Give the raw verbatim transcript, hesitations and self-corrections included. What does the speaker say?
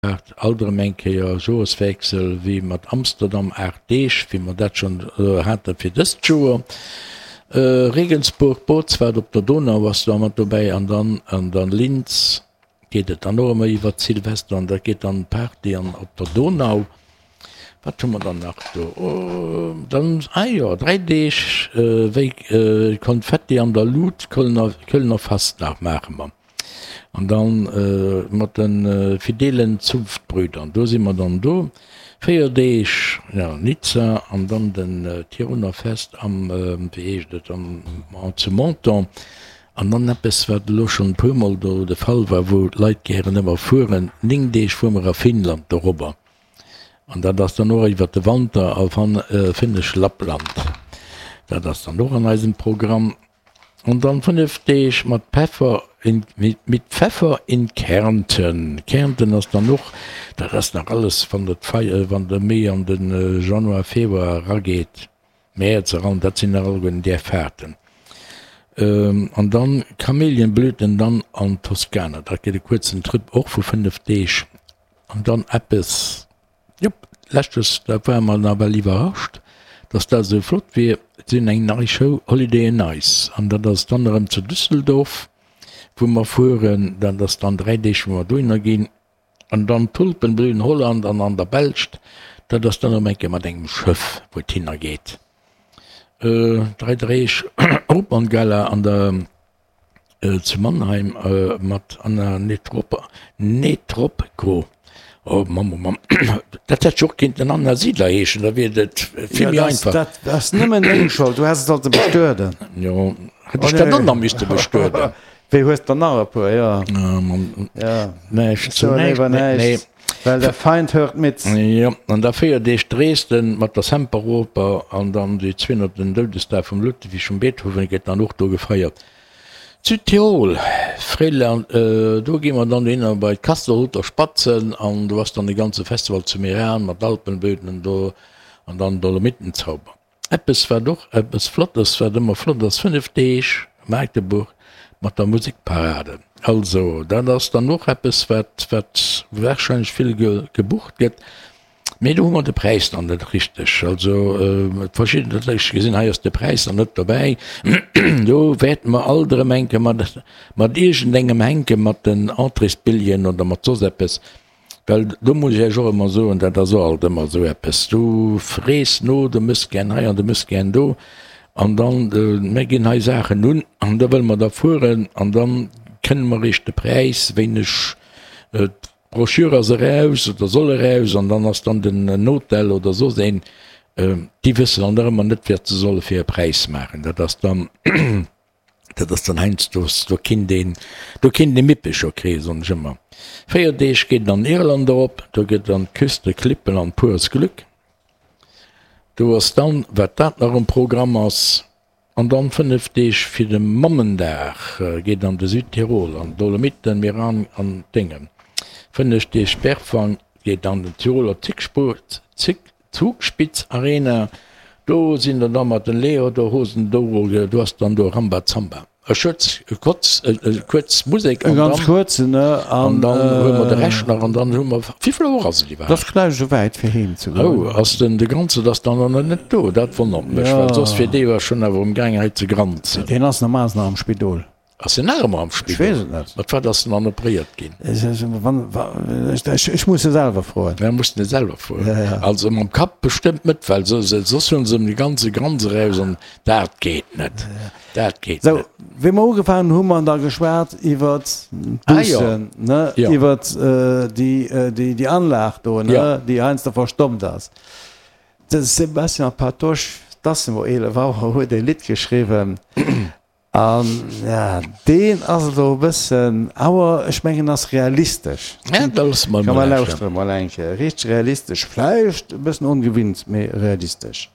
Alt erëm eng Kéier Joreswiessel wéi mat Amsterdam, aacht Deeg, wéi mer dat schonn hate fir dëst Joer. Regensburg, Bootsfahrt op der Donau ass da mat dobäi an dann an dann Linz geet et dann och ëmmer iwwert Silvester an dat geet dann Party an op der Donau. Wat hu mer dann nach do? Dann, ah jo, dräi Deeg wéi Konfetti an der Lut, Kölner, Kölner Fastnacht maache mer. An dann mat de fidelen Zunftbrüdern, do si mer dann do véier Deeg, jo, Nizza an dann den Tiroler Fest am, wéi heescht et, am, zu Menton. An dann eppes, wat elo schonn e puermol do de Fall war, wou d'Leit gären ëmmer fueren, néng Deeg fuere mer a Finnland dorobber. An dat ass dann och iwwert de Wanter a finnesch Lappland. Dat ass dann och an eisem Programm. An dann fënnef Deeg mat Peffer in, mit Pfeffer in Kärnten. Kärnten ass dann och, dat ass nach alles, wann et fei, wann de méi an de Januar, Februar erageet, Mäerz eran, dat sinn nach alleguerten där Fahrten. An dann Kamelienblüten dann an Toskana, dat gëtt e kuerzen Trip och vu fënnef Deeg. An dann eppes, jop, leschtes, da ware mer nawell iwwerrascht, dass dat esou flott wier, si hunn eng nei Show, Holiday on Ice, an dat ass dann erëm zu Düsseldorf, wou mer fueren. Dat ass dann dräi Deeg, wou mer dohinner ginn. An dann Tulpenblühen Holland an an der Belscht, dat ass dann erëm eng Kéier mat engem Schëff, wou et hinner geet. Dräi Deeg Operngala an der zu Mannheim mat Anna Netrebko. Oh Mamm, oh Mamm, dat hätt jo och kinnten Anna Siedler heeschen, da wier et vill méi einfach. Dat ass nëmmen deng Schold, du häss et sollte bestueden. Jo, hätt ech dat och nach misste bestueden. Wéi hues der nach e puer, jo. Näischt zu näischt, nee. Well der Feind hört mit. Jo, an da véier Deeg Dresden mat der Semperoper an dann déi zweehonnerten Doudesdag vum Ludwig vum Beethoven gëtt dann och do gefeiert. Südtirol, Fréiland, do gi mer dann dohinner bei d'Kastelruther Spatzen an do ass dann de ganze Festival zu Meran mat Alpenböden do an dann Dolomitenzauber. Eppes wat och eppes Flottes, wat ëmmer flott ass, fënnef Deeg Magdeburg mat der Musekparade. Also dat ass dann och eppes wat wat warscheinlech vill gebucht gëtt. Mee do hu mer de Präis dann net richteg. Also verschidden, dat ech gesinn, hei ass de Präis dann net dobäi. Do wäerte mer alt erëm enke mat, mat iergendengem hänke mat den Entréesbilljen oder mat soss eppes. Well do muss ech Iech och ëmmer soen, dat ass och alt ëmmer esou eppes, du frees no, du mëss gär hei an du mëss gär do an dann, mir ginn hei Saachen un an da wëlle mer da fueren an da kënne mer eréischt de Präis, wéineg D'Brochure ass eraus oder soll eraus an dann ass dann den Hotel oder soss een, déi wëssen dann nach ëmmer net wat se solle fir e Präis maachen. Dat ass dann, dat ass dann heiansdo, do kinnt een, do kinnt ee Mippecher kréien, soen ech ëmmer. Véier Deeg geet et an Irland erop, do gëtt an d'Küste Klippen an pures Glück. Do ass dann, wat dat nach um Programm ass. An dann fënnef Deeg fir de Mammendag geet an de Südtirol, an d'Dolomiten, Meran an d'Déngen. Fënneg Deeg Berfang geet an den Tiroler Zugspitz Arena. Do sinn der da mat den Lederhosen do, do ass dann do Rambazamba. E Schutz, e Kotz, e kuerz Musek an dann, kuerzen, ne? An dann hu mer de Rescht nach an dann hu mer, wéivill Auer ass et iwwerhaapt? Dat ass gläich esou wäit fir heem ze goen. Oh, ass den de Granzert ass dann nach net do? Dat wonnert mech, well soss wier dee jo schonn awer um gaang hei ze granzen. Deen ass normalerweis nach am Spidol. Ass en nach ëmmer am Spidol? Ech weess et net. Mat wat ass en dann operéiert ginn? Ech muss e selwer froen. Ja, muss en selwer froen. Also mam Kapp bestëmmt net, well soss hunn se em de ganze Granz eraus an dat geet net. Dat geet net. Sou, wéi mer ugefaangen hunn, hu mer da geschwat iwwert d'Bussen, ne, iwwert déi Anlag do, ne, déi heiansdo verstommt ass. De Sébastien Patoche, 't ass elo eelef Auer, huet e Lidd geschriwwen. An ja, deen ass elo e bëssen, awer ech mengen ass realistesch. Ja, da loosse mer Komm emol mer lauschteren. lauschtere mol eng Kéier. Richteg realistesch, vläicht e bëssen ongewinnt, mee realistesch.